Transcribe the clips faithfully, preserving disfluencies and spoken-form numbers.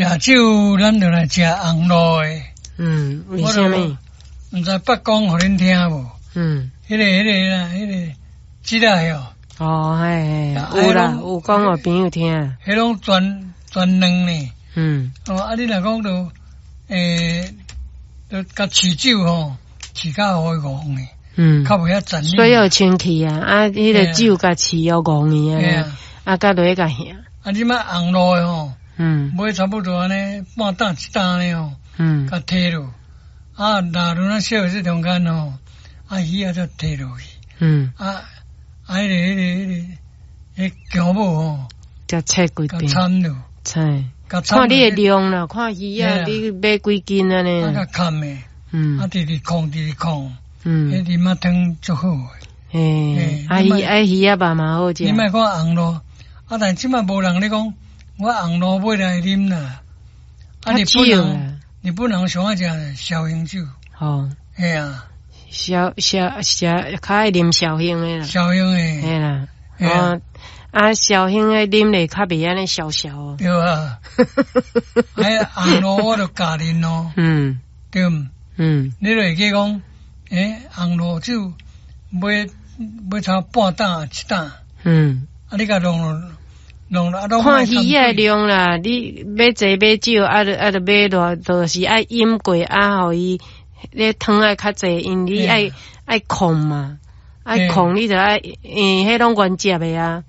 食酒，咱就來食紅露的。嗯，為啥物？毋知捌講予恁聽無？嗯。彼個、彼個啦，彼個這個哦。哦，嘿，有啦，有講予朋友聽。彼攏全全卵呢。嗯。哦，啊，你若講著，欸，著共飼酒吼，飼較予伊戇呢。嗯。較袂遐殘忍。水予清氣啊，啊，彼個酒共飼予戇去啊，啊，佮落去共行。啊，這擺紅露的吼，嗯，買差不多按呢半擔一擔呢吼，嗯，共提落，啊，若輪仔燒這中間吼，啊，魚仔才提落去，嗯，啊，啊，彼個、彼個、彼個，彼薑母吼，才切幾片，摻落，切，看你的量啦，看魚仔你買幾斤按呢？啊，共崁的，嗯，啊，直直控，直直控，嗯，彼啉仔湯足好的，嘿，啊魚啊魚仔肉嘛好食。你莫看紅露，啊，但這擺無人咧講，我紅露買來啉啦。啊，日本人，日本人上愛食紹興酒。哦，嘿啊，紹紹紹較愛啉紹興的啦。紹興的。嘿啦，哦，啊，紹興的啉咧較袂按呢潲潲哦。對啊。哎，紅露我就教恁咯。嗯。對毋？嗯。你就會記講，欸，紅露酒買買差半擔一擔。嗯。啊，你共弄落。弄啊，看魚仔量啦，你買濟買少，啊，著啊，著買偌，就是愛飲過啊，予伊咧湯愛較濟，因為你愛愛控嘛，愛控你著愛，因彼攏原汁的啊，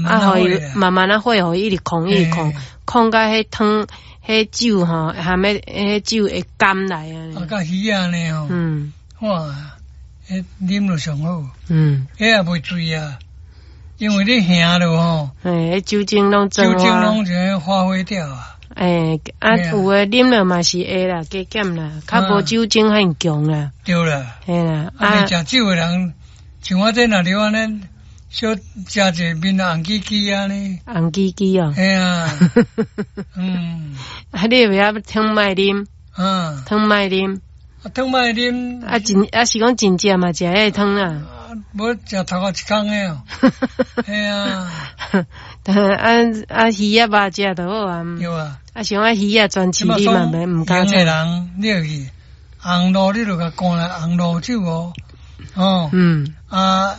啊，予伊慢慢仔火，予伊一直控，一直控，控甲彼湯、彼酒吼，含彼彼酒會甘來啊。啊，佮魚仔呢吼，嗯，哇，彼啉落上好，嗯，彼也袂醉啊。因為你行落吼，嘿，酒精攏酒精攏就發揮掉啊。欸，啊，有的啉了嘛是會啦，加減啦，較無酒精遐強啦。對啦。嘿啦，啊，食酒的人，像我這若著按呢，小食者面紅吱吱按呢。紅吱吱哦。嘿啊。嗯。啊，你會曉湯莫啉？嗯。湯莫啉。啊，湯莫啉。啊，真啊是講真食嘛，食彼個湯啊。無食頭殼一空的哦，嘿啊，啊啊魚仔肉食就好啊。對啊。啊，像啊魚仔專飼你嘛袂毋敢食。的人，你會記紅露，你就共灌來紅露酒哦，哦。嗯。啊，